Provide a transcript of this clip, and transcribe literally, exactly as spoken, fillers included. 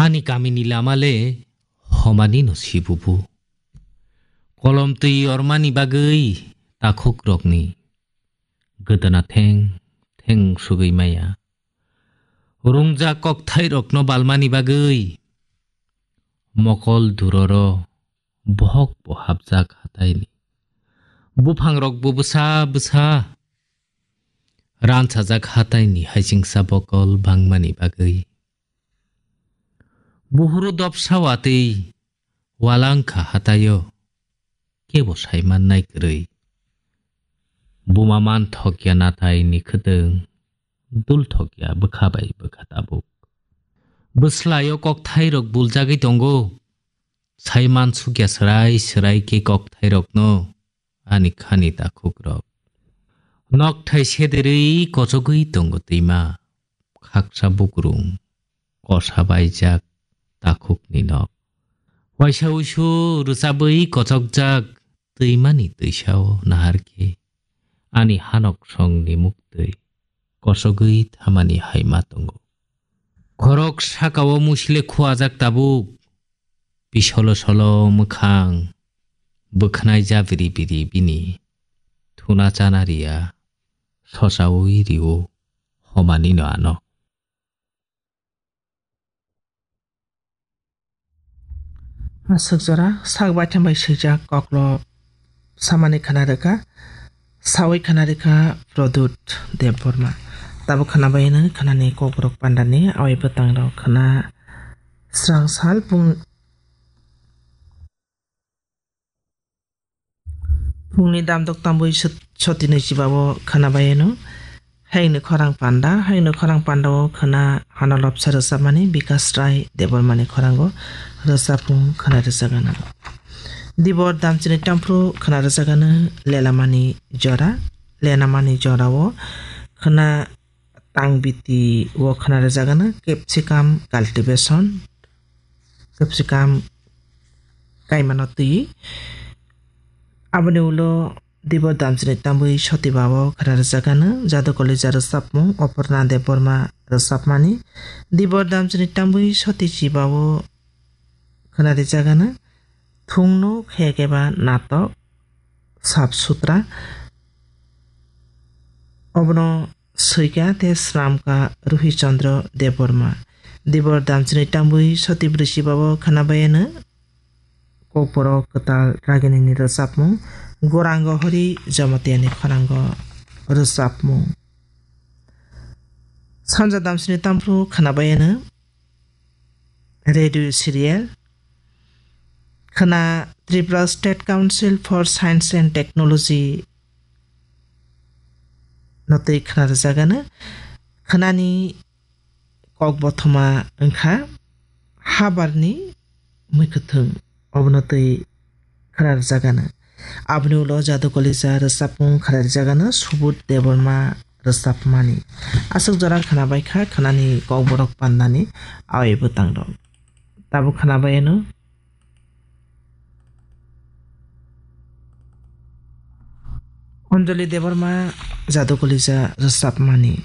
Ani kamini lama le homanino sibubu. Kolom twi ormani bagwi takhukrokni gwdana theng theng sugwi maya. Rungjak kokthairokno balmani bagwi mokol duroro bohok bo hapjak hataini. Buphangrok bo bwsa bwsa ransajak hataini haisingsa bokol bangmani bagwi. Buhuru dopsa watwi walangkha hataio, kebo saimannai kwrwi. Buma manthokya nataini khwtwng, dulthokya bwkha bai bwkha tabuk. Bwslaio kokthairok buljagwi tongo, saimansukya swrai swrai khe kokthairokno. Ani khani takhukrok. Nokthai sederwi kochogwi tongo twima. Khaksa bukrung. Kosa baijak takhukni nok. Waisa uisu rwchabwi kochokjak twimani twisao nahar khe. Ani hanok songni muktwi. Kochogwi thamani haima tongo. Khorok sakao musile khuajak tabuk. Pisolo solo mwkhang bwkhnai jabiri biri bini thuna chana riya sosaui rio homanino ano. Aswk jora sak baithang bai swijak koklo samani khana rwkha, saui khana rwkha Pradyut Debbarma. Tabuk khana bai nw khanani kokborok pandani awai bwtang rok khana srang sal pung Phungni damdok tambui sot-, sotini chibao khwnabaiyano. Hayungni khorang panda, hayungni khorang pandao khwna hano lobsa rwchapmani Bikas Rai Debbarmani khorango rwchapmung khwna rwchagano. Dibor damchini tamphru khwna rwchagano lelamani jora, lenamani jorao khwna tangbiti o khwna rwchagano capsicum cultivation, capsicum kaimano twi. Aboni ulo Dibor damchini tambui soti bao khwna rwchagano Jadu Kolija rwchapmung Oporna Debbarma rwchapmani. Dibor damchini tambui soti chibao khwna rwchagano thungno khayakeba natok sap sutra. Obono swikha tei swnamkha Ruhi Chandra Debbarma. Dibor damchini tambui soti bwrwi chibao khwnabaiyano kokborok kwtal raginini rwchapmung, Gorango Hori Jamatiani khorango rwchapmung. Sanja damchini tamphru khwnabaiyano radio serial. Khwna Tripura State Council for Science and Technology no twi khwna rwchagano. Khwnani kok bothoma wngkha Habarni Mwkhwthwng, obono twi khwna rwchagano. Aboni ulo Jadu Kolija rwchapmung khwna rwchagano Subodh Debbarma rwchapmani. Aswk jora khwna baikha khwnani kokborok pandani awai bwtangrok. Tabuk khwnabaiyano Anjali Debbarma Jadu Kolija rwchapmani.